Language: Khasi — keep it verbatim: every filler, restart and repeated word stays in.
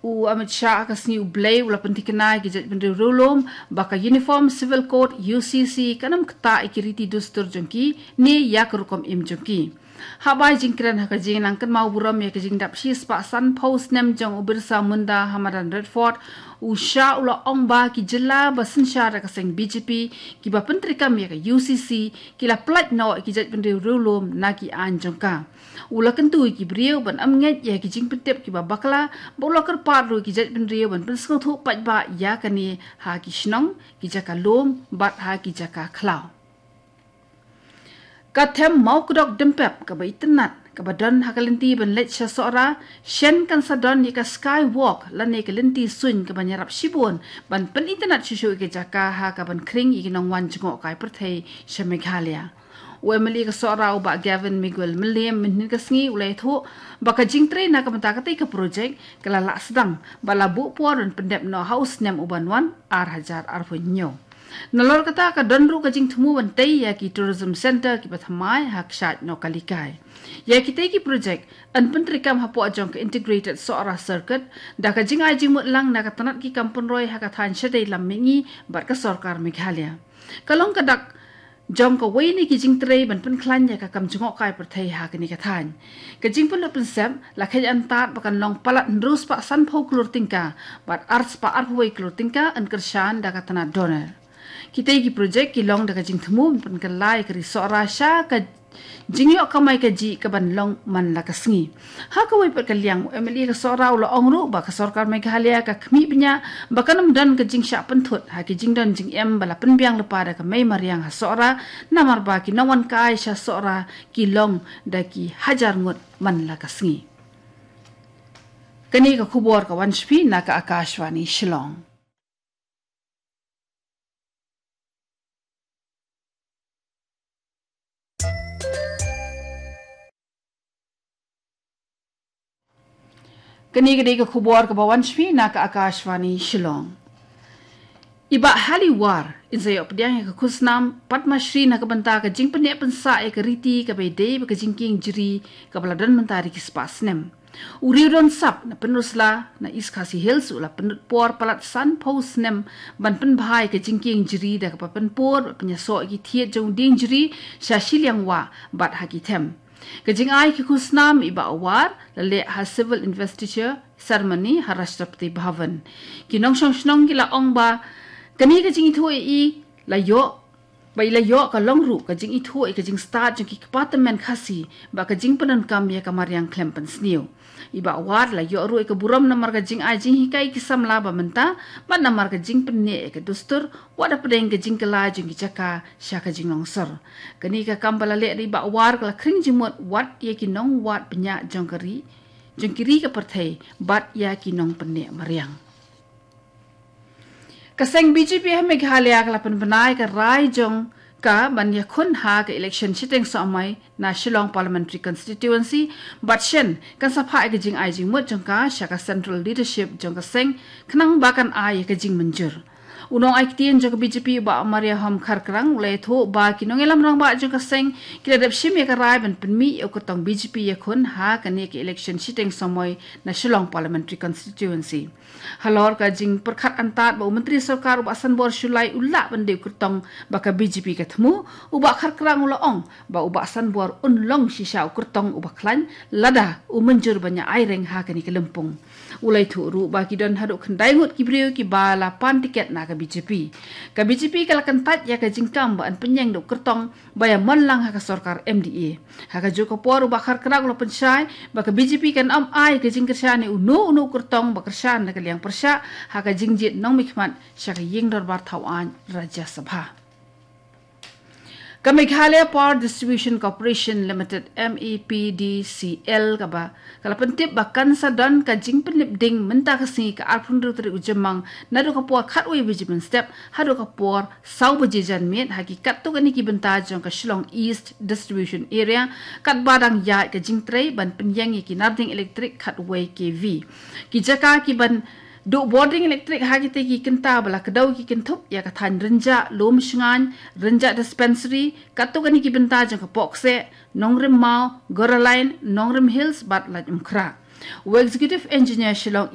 U Amit Shah ha ka sngi u Blei u la pynthikna ïa ki jaitbynriew riewlum ba ka Uniform Civil Code, U C C, kan ym ktah ïa ki riti dustur jong ki ne ïa ka rukom im jong ki. Haba ai jingkren ha ka jingnang kynmaw burom ïa ka jingdap shispah sanphew snem jong u Birsa Munda ha madan Red Fort, u Shah u la ong ba ki jylla ba synshar da ka seng B J P kiba pyntreikam ïa ka U C C ki la pyllait noh ïa ki jaitbynriew riewlum na ki aiñ jong ka. U la kyntu ïa ki briew ban ym ngeit ïa ki jingpyntip kiba bakla, bad u la kyrpad ruh ïa ki jaitbynriew ban pynsngewthuh paidbah ïa kane ha ki shnong, ki jaka lum bad ha ki jaka khlaw. Ka them Mawkdok Dympep kaba itynnad, kaba don ha ka lynti ban leit sha Sohra, shen kan sa don ïa ka skywalk lane ka lynti suiñ kaban ïarap shibun ban pynitynnad shuh shuh ïa ka jaka ha kaban khring ïa ki nongwan jngohkai pyrthei sha Meghalaya. U M L A ka Sohra u Bah Gavin Miguel Mylliem mynhynnin ka sngi u la ïathuh ba ka jingtrei na ka bynta katei ka projek ka la lah sdang bad la buh por ban pyndep noh ha u snem uban wan, ar hajar arphew hynñiew. Nalor kata ka don ruh ka jingthmu ban tei ïa ki tourism centre kiba thymmai ha kshaid Nohkalikai. Ïa kitei ki projek yn pyntreikam hapoh jong ka Integrated Sohra Circuit da ka jingai jingmut lang na ka tnat ki kam pynroi ha ka thaiñ shadei lam mihngi bad ka sorkar Meghalaya. Ka long ka dak jong kawei na ki jingtrei ban pynkhlaiñ ïa ka kam jngohkai pyrthei ha kane ka thaiñ. Ka jingpynlut pynsep la kheiñ antad ba kan long palat hynriew spah sanphew klur tyngka bad ar spah arphew wei klur tyngka yn kyrshan da ka tnat DoNER. Kitei ki projek ki long da ka jingthmu ban pynkylla ïa ka ri Sohra sha ka jingïoh kamai kajih kaban long man la ka sngi. Ha kawei pat ka liang, u M L A ka Sohra u la ong ruh ba ka sorkar Meghalaya ka khmih bniah ba kan ym don ka jingshah pynthut ha ki jingdon jingem ba la pynbiang lypa da ka mei mariang ha Sohra, namar ba ki nongwan kai sha Sohra ki long da ki hajar ngut man la ka sngi. Kane ka khubor ka wan sha phi na ka Akashvani Shillong. Kane ka dei ka khubor kaba wan sha phi na ka Akashvani Shillong. I Bah Hali War in sa ïoh pdiang ïa ka khusnam Padma Shri na ka bynta ka jingpyneh pynsah ïa ka riti kaba ïadei bad ka jingkieng jri kaba la don mynta da ki spah snem. U Riewdonsap na Pynursla na East Khasi Hills u la pynlut por palat sanphew snem ban pynbha ïa ka jingkieng jri da kaba pynpur bad pynïasoh ïa ki thied jong u dieng jri sha shiliang wah bad ha ki them. Ka jingai ki khusnam i Bah War la leh ha civil investiture ceremony ha Rashtrapati Bhavan. Ki nongshong shnong ki la ong ba kane ka jingithuh ïa i la ïoh, ba i la ïoh ka long ruh ka jingithuh ïa ka jingstad jong ki kpa tymmen Khasi bad ka jingpyndonkam ïa ka mariang khlem pynsniew. I Bah War la ïoh ruh ïa ka burom namar ka jingai jinghikai ki samla ba mynta bad namar ka jingpynneh ïa ka dustur, wat hapdeng ka jingkylla jong ki jaka sha ka jinglongsor. Kane ka kam ba la leh da i Bah War ka la khring jingmut wat ïa ki nongwad bniah jong ka ri, jong ki ri ka pyrthei bad ïa ki nongpynneh mariang. Ka seng B J P ha Meghalaya ka la pynbna ïa ka rai jong ka ban ïakhun ha ka election shiteng sohmai na Shillong Parliamentary Constituency, bad shen kan sa phah ïa ka jingai jingmut jong ka sha ka central leadership jong ka seng khnang ba kan ai ïa ka jingmynjur. U nongai ktien jong ka B J P u Bah Mariahom Kharkrang u la ïathuh ba ki nongïalam rangbah jong ka seng ki la dep shim ïa ka rai ban pynmih ïa u kyrtong B J P ïakhun ha kane ka election shiteng sohmai na Shillong Parliamentary Constituency. Halor ka jingpyrkhat antad ba u Myntri Sorkar u Bah Sanbor Shullai u lah ban dei u kyrtong ba ka B J P ka thmu, u Bah Kharkrang u la ong ba u Bah Sanbor un long shisha u kyrtong uba khlaiñ lada u mynjur ban ïa aireng ha kane ka lympung. U la ïathuh ruh ba ki don haduh khyndai ngut ki briew kiba la pan tiket na ka B J P. Ka B J P ka la kyntait ïa ka jingkam ba yn pynïeng da u kyrtong ba ïa mon lang ha ka sorkar M D A. Ha kajuh ka por u Bah Kharkrang u la pynshai ba ka B J P kan ym ai ka jingkyrshan ïa uno uno u kyrtong ba kyrshan na ka liang pyrshah ha ka jingjied nongmihkhmat sha ka ïing dorbar thawaiñ Rajya Sabha. Ka Meghalaya Power Distribution Corporation Limited, M A P D C L, kaba ka la pyntip ba kan sa don ka jingpynlip ding mynta ka sngi ka arphew hynriew tarik u Jymmang naduh ka por khatwei baje mynstep haduh ka por saw baje janmiet ha ki katto katne ki bynta jong ka Shillong East Distribution Area, katba dang ïaid ka jingtrei ban pynïeng ïa ki narding elektrik khatwei K V. Ki jaka kiban duh bording elektrik ha kitei ki kynta ba la kdew ki kynthup ïa ka thaiñ Rynjah, Lumshngaiñ, Rynjah Dispensary, katto katne ki bynta jong ka Pohkseh, Nongrim Maw, Goraline, Nongrim Hills bad Laitumkhrah. U Executive Engineer Shillong